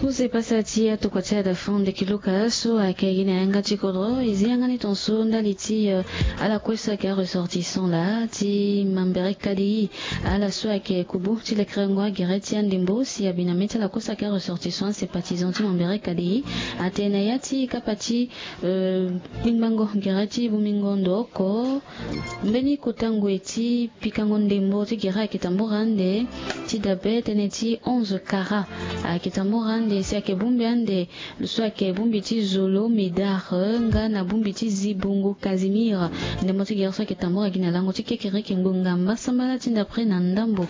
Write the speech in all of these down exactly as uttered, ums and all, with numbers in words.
Use pasa ti atokua ti ada fond de kiluka so ayeke gi na yanga ti kodro e zi yanga ni tonso ndali ti ala kue so ayeke aressortissant laa ti mambere kadi. Ala so ayeke kubu ti lekerengo agere ti andembo si abi na mê ti ala kue so ayeke aressortissant asympathisant ti mambere kadi. Atene na ya ti kapa ti kpingbango gere ti bongbingo ndo oko mbeni kota ngoi ti pikango ndembo ti gere ayeke tambura ande ti dabe tënë ti onze kara. Ayeke tambura ande si ayeke bongbi ande so ayeke bongbi ti zolo médard nga na bongbi ti zibongo casimir. Ndembo ti gere so ayeke tambura gi na lango ti kekereke ngbonga mbasambala ti ndapre na ndambo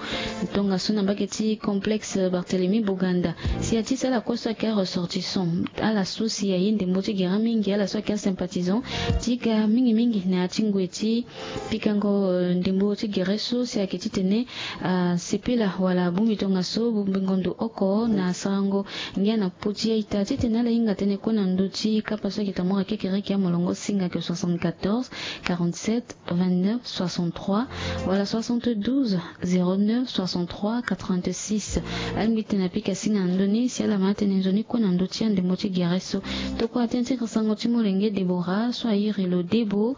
tongaso na mbage ti complexe barthélemy boganda. Si ya ti si ala kue so ayeke aressortissant ala so si aye ndembo ti gere mingi ala so ayeke asympathisant ti ga mingimingi na ya ti ngoi ti pikango ndembo ti gere so si ayeke titene asepela wala abongbi tongaso bongbingo ndo oko na sarango ngia na poti ya ita titene ala hinga tënë kue na ndö ti kapa so ayeke tambura kekereke amolongo singa ayeke soixante-quatorze quarante-sept vingt-neuf soixante-trois wala soixante-douze zéro neuf soixante-trois quatre-vingt-six. Alingbi tene apika singa na ndö ni si ala ma atene nzoni kue na ndö ti andembo ti gere so. Tokua tënë ti sango ti molenge debora so airi lo debo.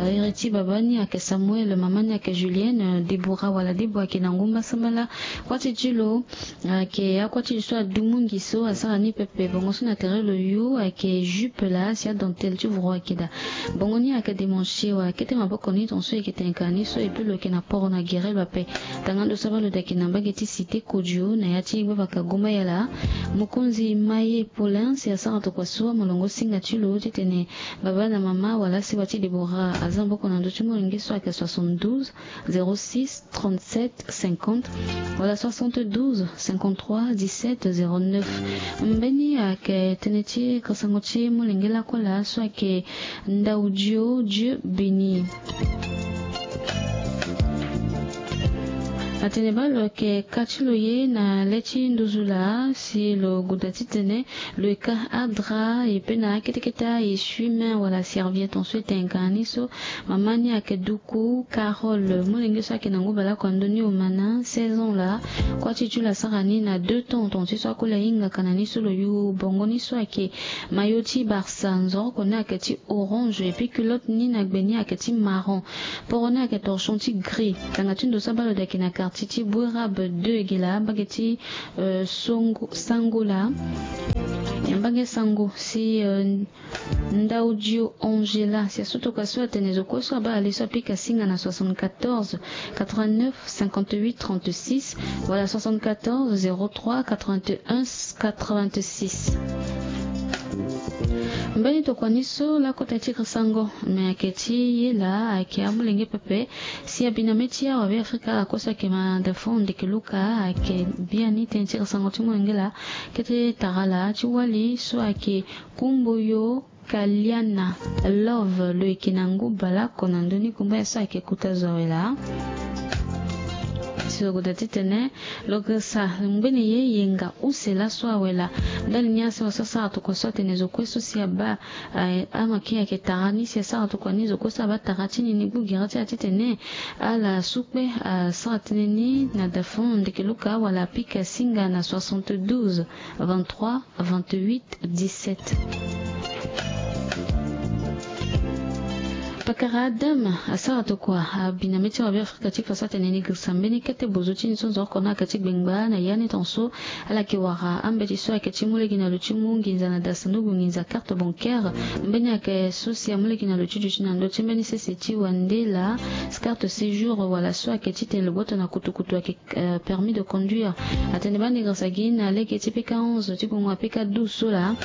Iri ti baba ni ayeke samuel mama ni ayeke julienne debora wala debo ayeke na ngumba sambala. Kuâ ti ti lo ayeke akuâ ti lo so adumungi so asara ni pepe bongo so na tere lo yo ayeke jupe laa si adentelle ti voro ayeke daa. Bongo ni ayeke demanche wala kete maboko ni tonso e yeke tene ka ni so epui lo yeke na poro na gere lo ape. Tanga ndo so abaa lo daa ayeke na mbage ti cité kodio na ya ti gbavaka goma yala. Mokonzi maye paulin si asara tokua so amolongo singa ti lo titene baba na mama wala asewa ti debora aza maboko na ndö ti molenge so ayeke soixante-douze zéro six trente-sept cinquante wala soixante-douze cinquante-trois dix-sept zéro neuf. Mbeni ayeke tënë ti kasango ti molenge lakue laa so ayeke ndaudio dieu béni. Atene baa lo yeke ka ti lo ye na le ti nduzu laa si lo goda titene lo yeke ka adra e pe na akete kete a esui main wala serviette tonso e tene ka na ni so. Mama ni ayeke duku carole molenge so ayeke na ngu baleoko na ndö ni omana seize ans laa. Kuâ ti ti lo asara ni na deux temps tonga ti so akoli ahingaka na ni so lo yu bongo ni so ayeke mayo ti barça nzoroko ni ayeke ti orange epui culotte ni na gbe ni ayeke ti marron. Poro ni ayeke torchon ti gris. Tanga ti ndo so abaa lo daa ayeke na quartier ti boirabe deux gela mbage ti sango laa. Mbage sango si ndaudio angela si aso tokua so atene zo kue so abaa ali so apika singa na soixante-quatorze quatre-vingt-neuf cinquante-huit trente-six wala soixante-quatorze zéro trois quatre-vingt-un quatre-vingt-six. Mbeni tokua ni so lakota ti kiri sango me ayeke ti ye laa ayeke amolenge pepe. Si abi na mê ti awabe afrika ala kue so ayeke ma dafon ndeke luka ayeke biani tënë ti kiri sango ti molenge laa. Kete tara laa ti wali so ayeke kumboyo kaliana love lo yeke na ngu baleoko na ndö ni kumba ye so ayeke kota zo awe laa. Si lo goda titene lo girisa ngbene ye yenga use laso awe laa. Ndali ni asewa so asara tokua so atene zo kue so si abaa amake ayeke tara ni si asara tokua ni zo kue so abaa tara ti ni ni gbu gere ti ala titene ala su kpe asara tënë ni na dafon ndeke luka wala apika singa na soixante-douze vingt-trois vingt-huit dix-sept. Pakara adam asara tokua abi na mê ti awabe afrika ti fa so atene ni girisa mbeni kete bozo ti ni so nzoroko ni ayeke ti gbengba na ya ni tonso. Ala yeke wara ambeti so ayeke ti mu lege na lo ti mu nginza na dasanduku nginza carte bancaire. Mbeni ayeke so si amu lege na lo ti duti na ndö ti mbeni sese ti wandela carte séjour wala so ayeke titene lo gboto na kutukutu ayeke permis de conduire. Atene baa ni girisa gi na lege ti pika onze ti gongo na pika douze so laa.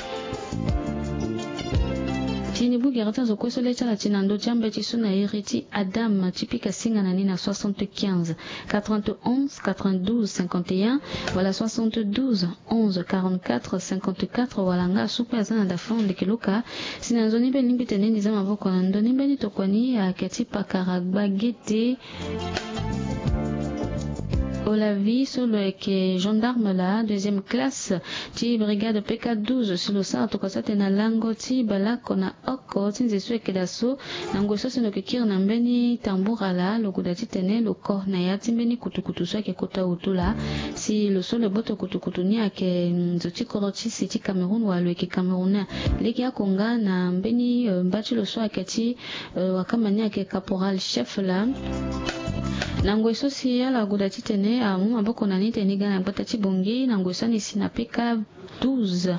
Ti ni gbu gere ti azo kue so le ti ala ti na ndö ti ambeti so na iri ti adam ti pika singa na ni na soixante-quinze quatre-vingt-onze quatre-vingt-douze cinquante-et-un wala soixante-douze onze quarante-quatre cinquante-quatre wala nga asu kue aza na dafon ndeke luka. Si na nzoni mbeni lingbi tene ni za maboko na ndö ni mbeni tokua ni ayeke ti pakara gbagete. Olavi so lo yeke gendarme laa deuxième classe ti brigade P K douze, si lo sara tokua so atene na lango ti baleoko na oko ti nze so ayeke daa so, na ngoi so si lo yeke kiri na mbeni tambura laa, lo goda titene lo ko na ya ti mbeni kutukutu so ayeke kota wutu laa. Si lo so lo boto kutukutu ni ayeke nzo ti kodro ti si ti Cameroun, wala lo yeke Camerounais. Lege oko nga na mbeni, eh, mba ti lo so ayeke ti, eh, wakamba ni ayeke caporal chef laa. Na ngoi so si ala goda titene amu maboko na ni tene ni ga na gbata ti Bangui, na ngoi so ani si na P K douze.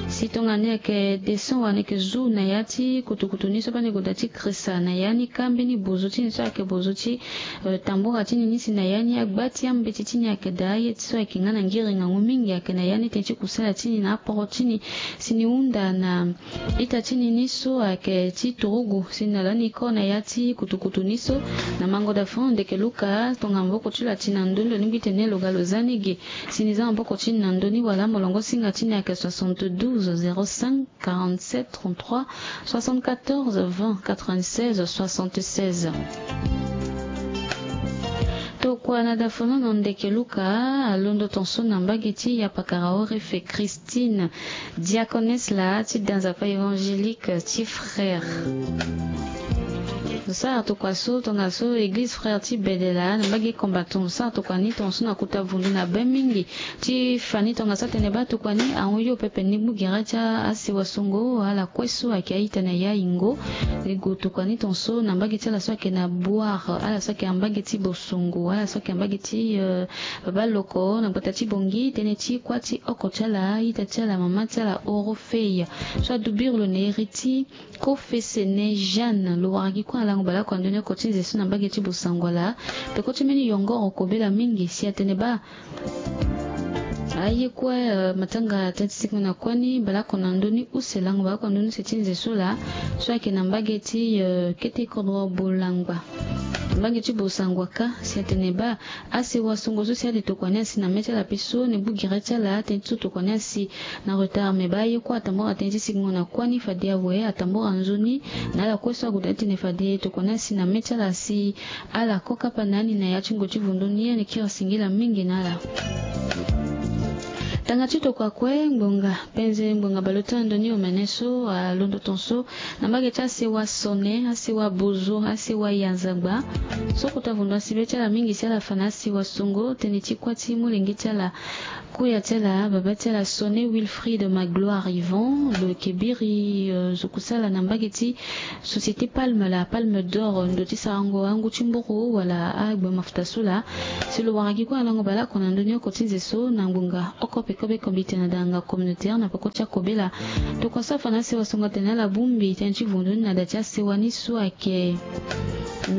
Si tongana ni ayeke descend wala ni yeke zu na ya ti kutukutu ni so, bani goda ti krisa na ya ni, ka mbeni bozo ti ni so ayeke bozo ti, eh, tambura ti ni ni si na ya ni, agba ti ambeti ti ni ayeke daa, aye ti so ayeke nga na ngiri ngangu mingi ayeke na ya ni, tënë ti kusala ti ni na aporo ti ni. Si ni hunda na ita ti ni ni so ayeke ti turugu, si na lani ko na ya ti kutukutu ni so. Na mango da fond ndeke Luka, tongana maboko ti lo ati na ndö ni, lo lingbi tene lo ga lo za ni ge. Si ni za maboko ti ni na ndö ni, wala molongo singa ti ni ayeke soixante-douze zéro cinq quarante-sept trente-trois soixante-quatorze vingt quatre-vingt-seize soixante-seize. Tokua na da fonono ndeke Luka alondo ton so na mbage ti yapakara Orefe Christine, diaconesse laa ti da nzapa évangélique ti Frères. Lo sara tokua so tongaso église Frères ti Bedela na mbage Combattant. Lo sara tokua ni ton so na kota vundu na be mingi ti fa ni tongaso atene baa tokua ni ahon yo pepe ni gbu gere ti asewa songo, ala kue so ayeke a-ita na ya yingo. Lego tokua ni ton so na mbage ti ala so ayeke na Boire, ala so ayeke na mbage ti Bosongo, ala so ayeke na mbage ti, eh, Baba Loko na gbata ti Bangui, tënë ti kuâ ti oko ti ala, ita ti ala, mama ti ala Orofeya so adu biri lo na iri ti Kofesene Jeanne. Lo wara gi kue na lango baleoko na ndö ni oko ti nze so na mbage ti Bosangwala. Peko ti mbeni yongoro kobela mingi si atene baa aye kue, eh, matanga tënë ti sikingo na kuâ ni baleoko na ndö ni use, lango baleoko na ndö ni use ti nze so laa, so ayeke na mbage ti, eh, kete kodro Bolangba, mbage ti Bosangwa ka, si atene baa asewa songo so si ade tokua ni asi na mê ti ala, pe so ni gbu gere ti ala tënë ti so tokua ni asi na retard. Me baa aye kue atambora tënë ti sikingo na kuâ ni, fade awe atambora nzoni na ala kue so ague daa ti tene fade tokua ni asi na mê ti ala si ala ko kapa na ni na ya ti ngoi ti vundu ni, ani kiri singila mingi na ala. Tanga ti tokua kue, ngbonga penze, ngbonga baleota na ndö ni omene so alondo ton so na mbage ti asewa Sone, asewa Bozo, asewa Yanzagba. So kota vundu asi be ti ala mingi si ala fa na asewa songo, tënë ti kuâ ti molenge ti ala, koya ti ala, baba ti ala Sone Wilfried Magloire Yvan, lo yeke biri, eh, zo kusala na mbage ti Société Palme, la Palme d'Or, ndo ti sarango angu ti mburu wala agbe mafuta so laa. Si lo wara gi kue na lango baleoko na ndö ni oko ti nze so na ngbonga oko peko be kombite na danga communautaire na peko ti akobela. Tokua so afa na asewa songo atene ala bongbi tënë ti vundu ni na da ti asewa ni so ayeke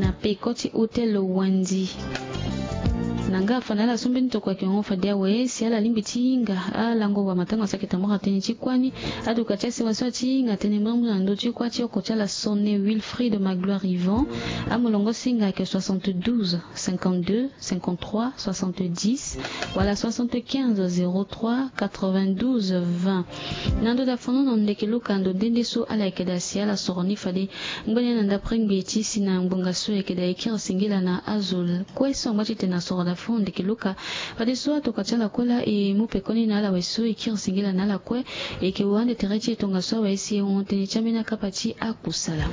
na peko ti hôtel Wandi. Na nga afa na ala so mbeni tokua ayeke hon fade awe si ala lingbi ti hinga alango wa matanga so ayeke tambora tënë ti kuâ ni. Aduka ti asewa so ati hinga tënë mbrimbri na ndö ti kuâ ti oko ti ala Sone Wilfried Magloire Yvan. Amolongo singa ayeke soixante-douze cinquante-deux cinquante-trois soixante-dix wala soixante-quinze zéro trois quatre-vingt-douze vingt. Na ndö da fonono ndeke Luka, ndo nde nde so ala yeke daa si ala soro ni fade ngbene na ndapre ngbii ti si na ngbonga so e yeke daa e kiri singila na azo kue so angba ti tene na soro da fo ndeke Luka. Fadeso atokua ti ala kue laa e mu pekoni na ala awe so e kiri singila na ala kue. E yeke wa ande tere ti e tongaso awe si e hon tënë ti ambeni akapa ti akusala.